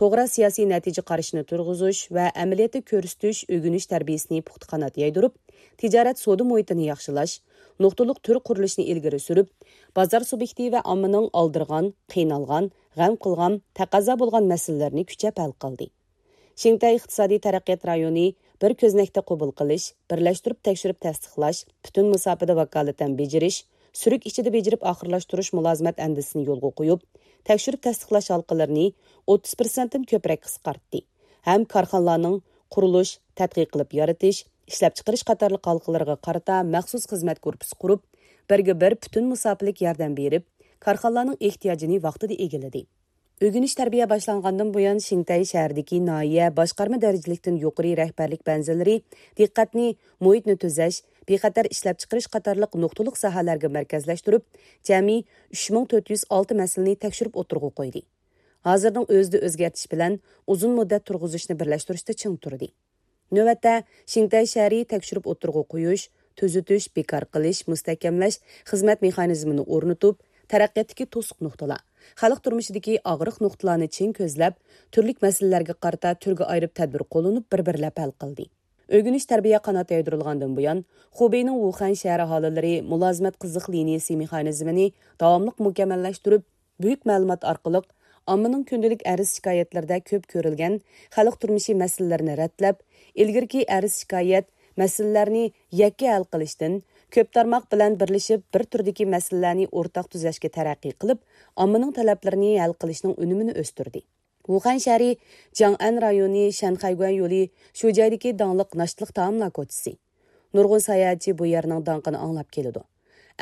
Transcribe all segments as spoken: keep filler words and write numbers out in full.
توغرا سىياسىي نەتىجە قارىشىنى تۇرغۇزۇش ۋە ئەمەلىيەتتە كۆرسىتىش، ئۆگىنىش تەربىيەسىنى پۇختا قانات يايدۇرۇپ، تىجارەت سودا مۇھىتىنى ياخشىلاش، نۇقتىلىق تۈر قۇرۇلۇشىنى ئىلگىرى سۈرۈپ، بازار سۇبيېكتى ۋە ئاممىنىڭ ئالدىرىغان، قىينالغان، غەم قىلغان، تەقەززا بولغان مەسىلىلىرىنى كۈچەپ ھەل قىلدى. شىنتەي ئىقتىسادىي تەرەققىيات رايونى بىر كۆزنەكتە قوبۇل قىلىش، بىرلەشتۈرۈپ تەكشۈرۈپ تەستىقلاش، پۈتۈن مۇساپىدە ۋاكالىتەن بېجىرىش، سۈرۈك ئىچىدە بېجىرىپ ئاخىرلاشتۇرۇش مۇلازىمەت ئەندىزىسىنى يولغا قويۇپ، تەكشۈرۈپ تەستىقلاش ھالقىلىرىنى ئوتتۇز پىرسەنتتىن كۆپرەك قىسقارتتى ھەم كارخانىلارنىڭ قۇرۇلۇش، تەتقىق قىلىپ يارىتىش، ئىشلەپچىقىرىش قاتارلىق ھالقىلىرىغا قارىتا مەخسۇس خىزمەت گۇرۇپپىسى قۇرۇپ، بىرگە بىر پۈتۈن مۇساپىلىك ياردەم بېرىپ، كارخانىلارنىڭ ئېھتىياجىنى ۋاقتىدا ئىگىلىدى. ئۆگىنىش تەربىيە باشلانغاندىن بۇيان، شىنتەي شەھىرىدىكى ناھىيە باشقارما دەرىجىلىكتىن يۇقىرى رەھبەرلىك بەنزىلىرى دىققەتنى مۇھىتنى تۈزەش، بىخەتەر ئىشلەپچىقىرىش قاتارلىق نۇقتىلىق ساھەلەرگە مەركەزلەشتۈرۈپ، جەمئىي ئۈچ مىڭ تۆت يۈز ئالتە مەسىلىنى تەكشۈرۈپ ئوتتۇرىغا قويدى. ھازىرنىڭ ئۆزىدە ئۆزگەرتىش بىلەن ئۇزۇن مۇددەت تۇرغۇزۇشنى بىرلەشتۈرۈشتە چىڭ تۇردى. نۆۋەتتە، شىنتەي شەھىرى تەكشۈرۈپ ئوتتۇرىغا قويۇش، تۈزىتىش، بىكار قىلىش، مۇستەھكەملەش خىزمەت مېخانىزمىنى ئورنىتىپ، تەرەققىياتتىكى توسۇق نۇقتىلار، خەلق تۇرمۇشىدىكى ئاغرىق نۇقتىلارنى چىڭ كۆزلەپ، تۈرلۈك مەسىلىلەرگە قارىتا تۈرگە ئايرىپ تەدبىر قوللىنىپ، بىر-بىرلەپ ھەل قىلدى. ئۆگىنىش تەربىيە قانات يايدۇرۇلغاندىن بۇيان، خۇبېينىڭ ۋۇخەن شەھىرى ئاھالىلىرى مۇلازىمەت قىزىق لىنىيىسى مېخانىزمىنى داۋاملىق مۇكەممەللەشتۈرۈپ، بۈيۈك مەلۇمات ئارقىلىق ئاممىنىڭ كۈندىلىك ئەرز شىكايەتلىرىدە كۆپ كۆرۈلگەن خەلق تۇرمۇشى مەسىلىلىرىنى رەتلەپ، ئىلگىرىكى ئەرز شىكايەت مەسىلىلەرنى يەككە ھەل قىلىشتىن، كۆپ تارماق بىلەن بىرلىشىپ بىر تۈردىكى مەسىلىلەرنى ئورتاق تۈزەشكە تەرەققىي قىلىپ، ئاممىنىڭ تەلەپلىرىنى ھەل قىلىشنىڭ ئۈنۈمىنى ئۆستۈردى. ۋۇخەن شەھىرى جياڭئەن رايونى شەنخەيگۈەن يولى شۇ جايدىكى داڭلىق ناشتىلىق تائاملار كوچىسى. نۇرغۇن ساياھەتچى بۇ يەرنىڭ داڭقىنى ئاڭلاپ كېلىدۇ.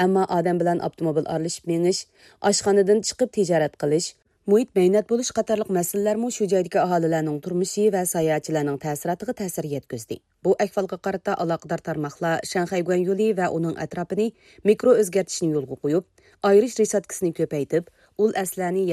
ئەمما ئادەم بىلەن ئاپتوموبىل ئارىلىشىپ مېڭىش، ئاشخانىدىن چىقىپ تىجارەت قىلىش، مۇھىت مەينەت بولۇش قاتارلىق مەسىلىلەرمۇ شۇ جايدىكى ئاھالىلەرنىڭ تۇرمۇشى ۋە ساياھەتچىلەرنىڭ تەسىراتىغا تەسىر يەتكۈزدى. بۇ ئەھۋالغا قارىتا ئالاقىدار تارماقلار شەنخەيگۈەن يولى ۋە ئۇنىڭ ئەتراپىنى مىكرو ئۆزگەرتىشنى يولغا قويۇپ، ئايرىش رېشاتكىسىنى كۆپەيتىپ، ئۇل ئەسلىھەنى